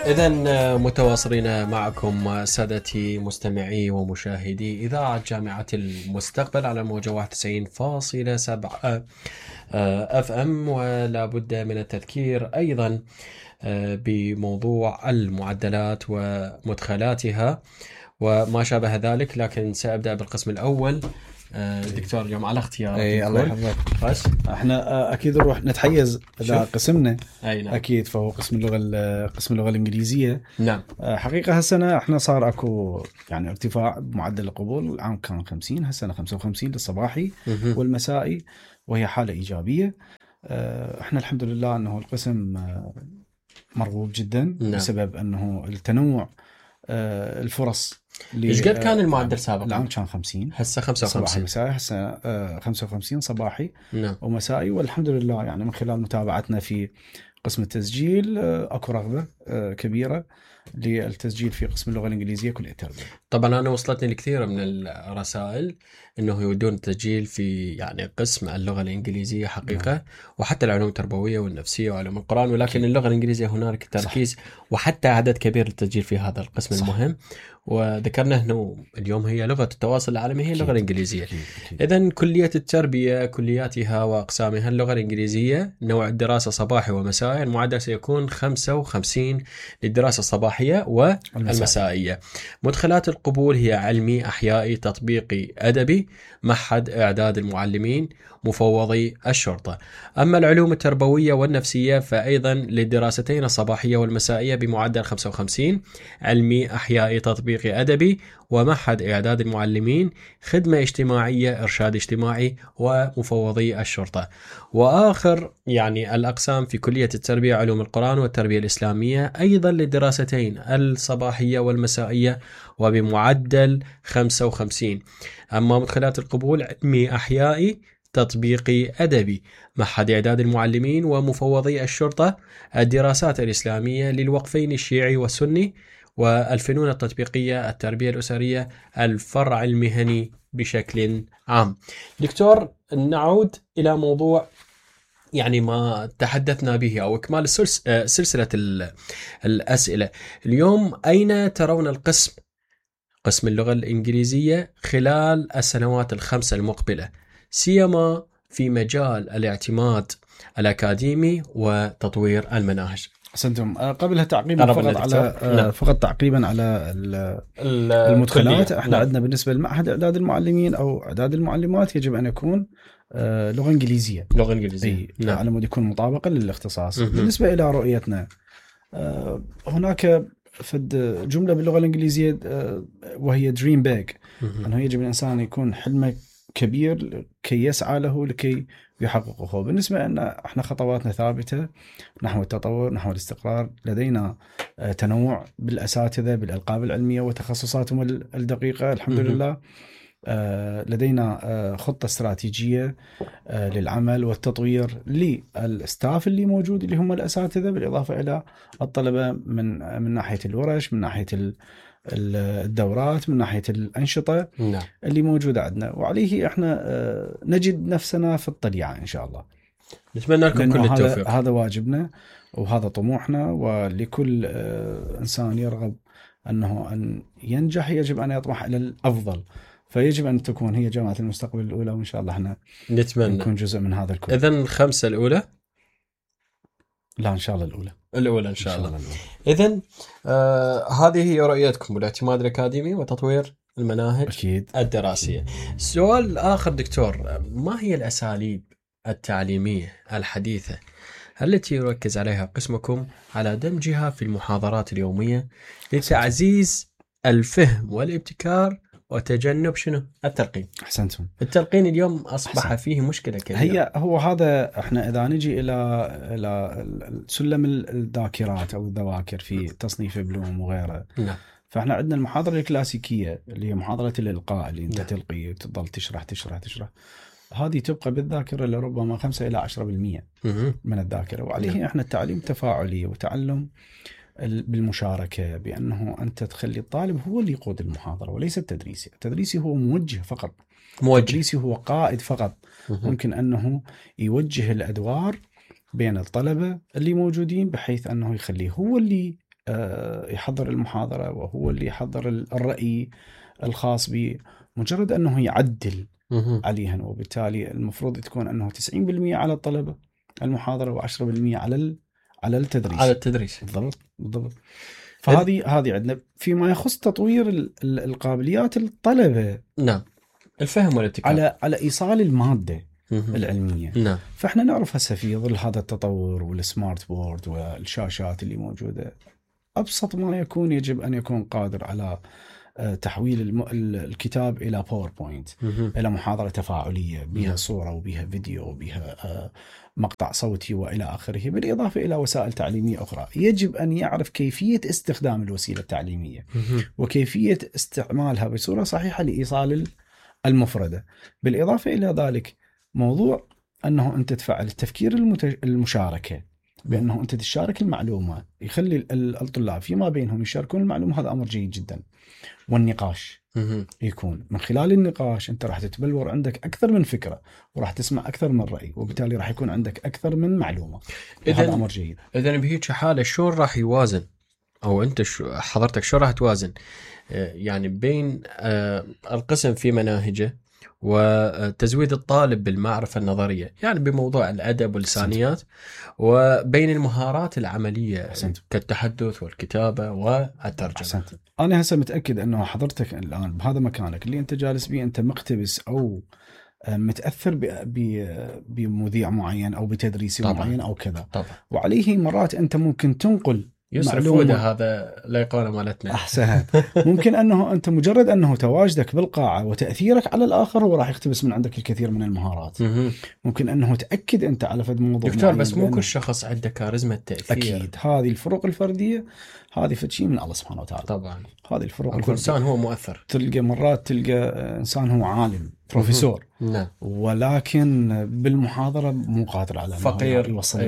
إذن متواصلين معكم سادتي مستمعي ومشاهدي إذاعة جامعة المستقبل على موجة 91.7 FM، ولا بد من التذكير أيضا بموضوع المعدلات ومدخلاتها وما شابه ذلك. لكن سأبدأ بالقسم الأول. دكتور اليوم على اختيار. الله يحفظك. بس احنا اكيد نروح نتحيز اذا قسمنا. نعم. اكيد فهو قسم اللغه الانجليزيه. نعم. حقيقه هالسنه احنا صار اكو يعني ارتفاع بمعدل القبول. العام كان 50، هالسنه 55 للصباحي والمسائي، وهي حاله ايجابيه. احنا الحمد لله انه القسم مرغوب جدا. نعم. بسبب انه التنوع الفرص. ايش قد كان المعدل سابقا؟ العام كان 50، هسه 55 صباحي مسائي، هسه 55 صباحي. نعم. ومسائي. والحمد لله يعني من خلال متابعتنا في قسم التسجيل اكو رغبه كبيره للتسجيل في قسم اللغه الانجليزيه كليه التربيه. طبعا انا وصلتني الكثير من الرسائل انه يودون التسجيل في يعني قسم اللغه الانجليزيه حقيقه. نعم. وحتى العلوم التربويه والنفسيه وعلوم القران، ولكن اللغه الانجليزيه هنالك تركيز. صح. وحتى عدد كبير للتسجيل في هذا القسم. صح. المهم. وذكرنا انه اليوم هي لغه التواصل العالمي هي اللغه الانجليزيه. اذا كليه التربيه كلياتها واقسامها اللغه الانجليزيه، نوع الدراسه صباحي ومسائي. المعدل سيكون 55 للدراسه الصباحيه والمسائيه. مدخلات القبول هي علمي، احيائي، تطبيقي، ادبي، معهد اعداد المعلمين، مفوضي الشرطه. اما العلوم التربويه والنفسيه فايضا للدراستين الصباحيه والمسائيه بمعدل 55، علمي، احيائي، تطبيقي، ادبي، ومعهد اعداد المعلمين، خدمه اجتماعيه، ارشاد اجتماعي، ومفوضي الشرطه. واخر يعني الاقسام في كليه التربيه علوم القران والتربيه الاسلاميه ايضا للدراستين الصباحيه والمسائيه وبمعدل 55. اما مدخلات القبول علمي، احيائي، تطبيقي، أدبي، معهد إعداد المعلمين، ومفوضي الشرطة. الدراسات الإسلامية للوقفين الشيعي والسني، والفنون التطبيقية، التربية الأسرية، الفرع المهني بشكل عام. دكتور، نعود إلى موضوع يعني ما تحدثنا به أو إكمال سلسلة الأسئلة. اليوم أين ترون قسم اللغة الإنجليزية خلال السنوات ال5 المقبلة، سيما في مجال الاعتماد الأكاديمي وتطوير المناهج؟ أحسنتم. قبلها تعقيبا فقط تعقيبا على المدخلات. احنا عندنا بالنسبة لمعهد إعداد المعلمين أو إعداد المعلمات يجب أن يكون لغة إنجليزية. نعم. على مود يكون مطابقا للاختصاص. بالنسبة إلى رؤيتنا، هناك فد جملة باللغة الإنجليزية وهي دريم بيج، أنه يجب الإنسان يكون حلمه كبير كي يسعى له لكي يحققه. بالنسبة لنا احنا خطواتنا ثابتة نحو التطور، نحو الاستقرار. لدينا تنوع بالأساتذة، بالألقاب العلمية وتخصصاتهم الدقيقة الحمد لله. لدينا خطة استراتيجية للعمل والتطوير للستاف اللي موجود اللي هم الأساتذة، بالإضافة إلى الطلبة من ناحية الورش، من ناحية الدورات، من ناحية الأنشطة. نعم. اللي موجودة عندنا، وعليه احنا نجد نفسنا في الطليعة إن شاء الله. نتمنى لكم كل التوفيق. هذا واجبنا وهذا طموحنا، ولكل إنسان يرغب أن ينجح يجب أن يطمح إلى الأفضل. فيجب أن تكون هي جامعة المستقبل الأولى، وإن شاء الله احنا نتمنى نكون جزء من هذا الكل. إذن 5 الأولى؟ لا إن شاء الله الأولى إن شاء الله. إذن هذه هي رؤيتكم بالاعتماد الأكاديمي وتطوير المناهج أكيد الدراسية. سؤال آخر دكتور، ما هي الأساليب التعليمية الحديثة التي يركز عليها قسمكم على دمجها في المحاضرات اليومية لتعزيز الفهم والابتكار وتجنب التلقين؟ أحسنتم. التلقين اليوم أصبح فيه مشكلة كبيرة. هو هذا احنا إذا نجي إلى سلم الذاكرات أو الذواكر في تصنيف بلوم وغيره. نعم. فاحنا عندنا المحاضرة الكلاسيكية اللي هي محاضرة الإلقاء اللي انت تلقي وتظل تشرح. هذه تبقى بالذاكرة لربما 5 إلى 10% من الذاكرة. وعليه احنا التعليم تفاعلي وتعلم بالمشاركة، بأنه أنت تخلي الطالب هو اللي يقود المحاضرة وليس التدريسي. التدريسي هو موجه فقط. التدريسي هو قائد فقط. ممكن أنه يوجه الأدوار بين الطلبة اللي موجودين، بحيث أنه يخليه هو اللي يحضر المحاضرة وهو اللي يحضر الرأي الخاص به، مجرد أنه يعدل عليها. وبالتالي المفروض تكون أنه 90% على الطلبة المحاضرة و10% على التدريس. على التدريس بالضبط. فهذه عندنا فيما يخص تطوير القابليات الطلبة. نعم، الفهم والابتكار على إيصال المادة العلمية. نعم. فإحنا نعرف هسه في ظل هذا التطور والسمارت بورد والشاشات اللي موجودة، أبسط ما يكون يجب أن يكون قادر على تحويل الكتاب إلى باوربوينت، إلى محاضرة تفاعلية بها صورة وبها فيديو وبها مقطع صوتي وإلى آخره، بالإضافة إلى وسائل تعليمية أخرى. يجب أن يعرف كيفية استخدام الوسيلة التعليمية وكيفية استعمالها بصورة صحيحة لإيصال المفردة. بالإضافة إلى ذلك موضوع أنه أنت تفعل التفكير المشاركة، بأنه أنت تشارك المعلومة، يخلي الطلاب فيما بينهم يشاركون المعلومة، هذا أمر جيد جدا. والنقاش يكون من خلال النقاش أنت راح تتبلور عندك أكثر من فكرة، وراح تسمع أكثر من رأي، وبالتالي راح يكون عندك أكثر من معلومة. هذا أمر جيد. إذن بهيك حالة شلون راح يوازن، أو أنت حضرتك شو راح توازن يعني بين القسم في مناهجه وتزويد الطالب بالمعرفة النظرية، يعني بموضوع الأدب واللسانيات، وبين المهارات العملية كالتحدث والكتابة والترجمة؟ أحسنت. أنا هسه متأكد أنه حضرتك الآن بهذا مكانك اللي أنت جالس به، أنت مقتبس أو متأثر بمذيع معين أو بتدريسي معين أو كذا. طبعا. وعليه مرات أنت ممكن تنقل يصرف وده، هذا لايقونه مالتنا. أحسنت. ممكن أنه أنت مجرد أنه تواجدك بالقاعة وتأثيرك على الآخر هو راح يقتبس من عندك الكثير من المهارات. ممكن أنه تأكد أنت على فد موضوع دكتور، بس مو كل شخص عنده كاريزما التأثير. أكيد هذه الفروق الفردية، هذه فد شيء من الله سبحانه وتعالى. طبعا هذه الفروق. كل إنسان هو مؤثر. تلقى مرات إنسان هو عالم بروفيسور، نعم، ولكن بالمحاضرة مو قادر على فقير، يوصل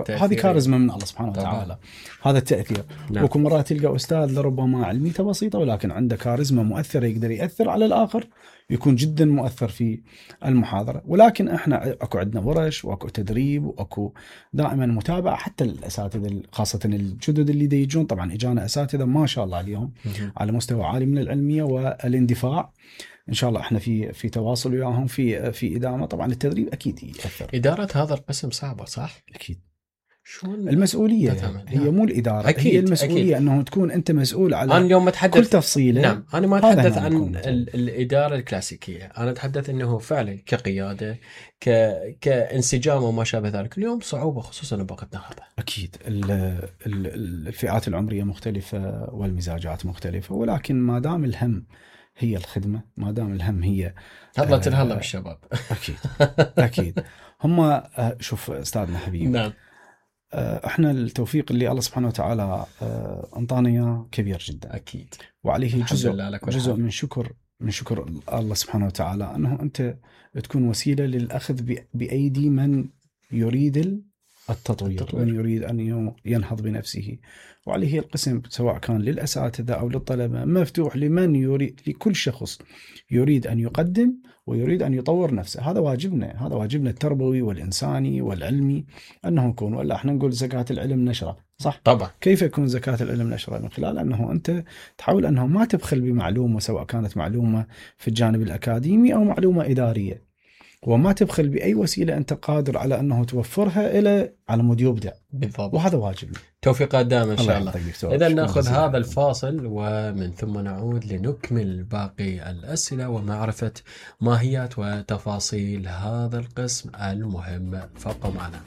هذه كاريزما من الله سبحانه وتعالى. هذا التأثير. نعم. وكم مرة تلقى أستاذ لربما علميته بسيطة، ولكن عنده كاريزما مؤثرة، يقدر يأثر على الآخر، يكون جدا مؤثر في المحاضرة. ولكن احنا اكو عندنا ورش واكو تدريب واكو دائما متابعة حتى الأساتذة، خاصة الجدد اللي يجون. طبعا اجانا أساتذة ما شاء الله اليوم على مستوى عالي من العلمية والاندفاع. ان شاء الله احنا في تواصل وياهم في ادامه. طبعا التدريب اكيد ياثر. اداره هذا القسم صعبه، صح؟ اكيد. شلون المسؤوليه هي مو الاداره، أكيد. هي المسؤوليه أكيد. انه تكون انت مسؤول على أنا اليوم أتحدث كل تفصيله. نعم، انا ما اتحدث عن الاداره الكلاسيكيه، انا اتحدث انه فعلا كقياده، كانسجام وما شابه ذلك. اليوم صعوبه خصوصا بوقتنا هذا. اكيد الفئات العمريه مختلفه والمزاجات مختلفه، ولكن ما دام الهم هي الخدمة، ما دام الهم هي هلا تنهلا بالشباب. أكيد أكيد. هم شوف أستاذنا حبيبي، نعم، إحنا التوفيق اللي الله سبحانه وتعالى أنطانا إياه كبير جدا. أكيد. وعليه جزء من شكر الله سبحانه وتعالى أنه أنت تكون وسيلة للأخذ بأيدي من يريد التطوير. ومن يريد أن ينهض بنفسه. وعليه القسم سواء كان للأساتذة أو للطلبة مفتوح لمن يريد، لكل شخص يريد أن يقدم ويريد أن يطور نفسه. هذا واجبنا التربوي والإنساني والعلمي أنه يكون. ولا احنا نقول زكاة العلم نشرة، صح؟ طبعا. كيف يكون زكاة العلم نشرة؟ من خلال أنه أنت تحاول أنه ما تبخل بمعلومة، سواء كانت معلومة في الجانب الأكاديمي أو معلومة إدارية، وما تبخل بأي وسيلة أنت قادر على أنه توفرها إلى على مود يبدع. بالضبط. وهذا واجبنا. توفيقات دائما إن شاء الله. إذا نأخذ هذا الله. الفاصل ومن ثم نعود لنكمل باقي الأسئلة ومعرفة ماهيات وتفاصيل هذا القسم المهم. فابقوا معنا.